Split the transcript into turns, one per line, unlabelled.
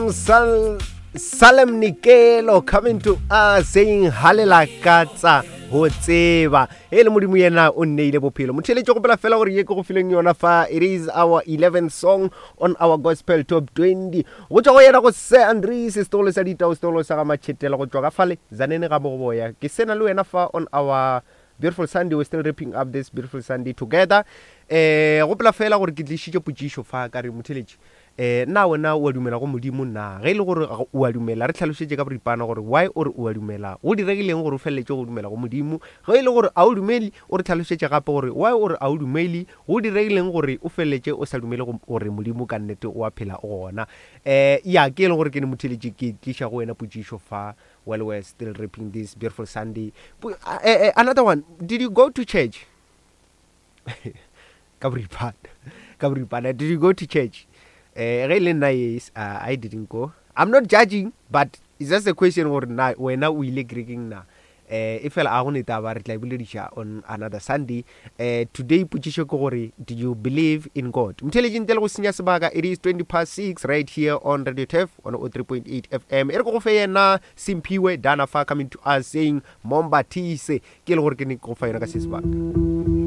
From Sal Salem Nikelo coming to us saying halela katsa go tseba e le modimo yena o nneile bophelo motheletše gopela fela gore ye ke go fileng yona fa it is our 11th song on our gospel top 20 go tšwa go yena go se andres setolo sa ditao setolo sa ga matšhetela go tšwa ka fale zanene ga bogoboya ke sena le wena fa on our beautiful sunday we're still wrapping up this beautiful sunday together eh gopola fela gore ke tlišitše potšišo fa ka re motheletši eh na wena o a dumela go modimo na ge e le gore o a dumela re tlhalošetše ka boripana gore why o re o a dumela go diregileng gore o feleletše go dumela go modimo ge e le gore a o dumele o re tlhalošetše gape gore why o re a o dumele go diregileng gore o feleletše o sa dumele gore modimo ka nnete o a phela o gona eh ya ke e le gore ke ne motheletši ke tliša go wena potšišo fa while we're still reaping this beautiful Sunday. Uh, uh, another one, did you go to church? Ka boripana. Ka boripana. Did you go to church? Eh, ge le nna yes, uh, I didn't go. I'm not judging, but it's just a question gore na wena o ile kerekeng na. Eh, e fela a go ne taba re tla e bolediša on another Sunday. Eh, today potšišo ke gore do you believe in God? Mtheletši ntle le go senya sebaka it is 20 past 6 right here on Radio Turf 103.8 FM. E re ke go fe yena Simphiwe Dana fa coming to us saying Momba Thise ke le gore ke ne ke go fa yona ka se sebaka.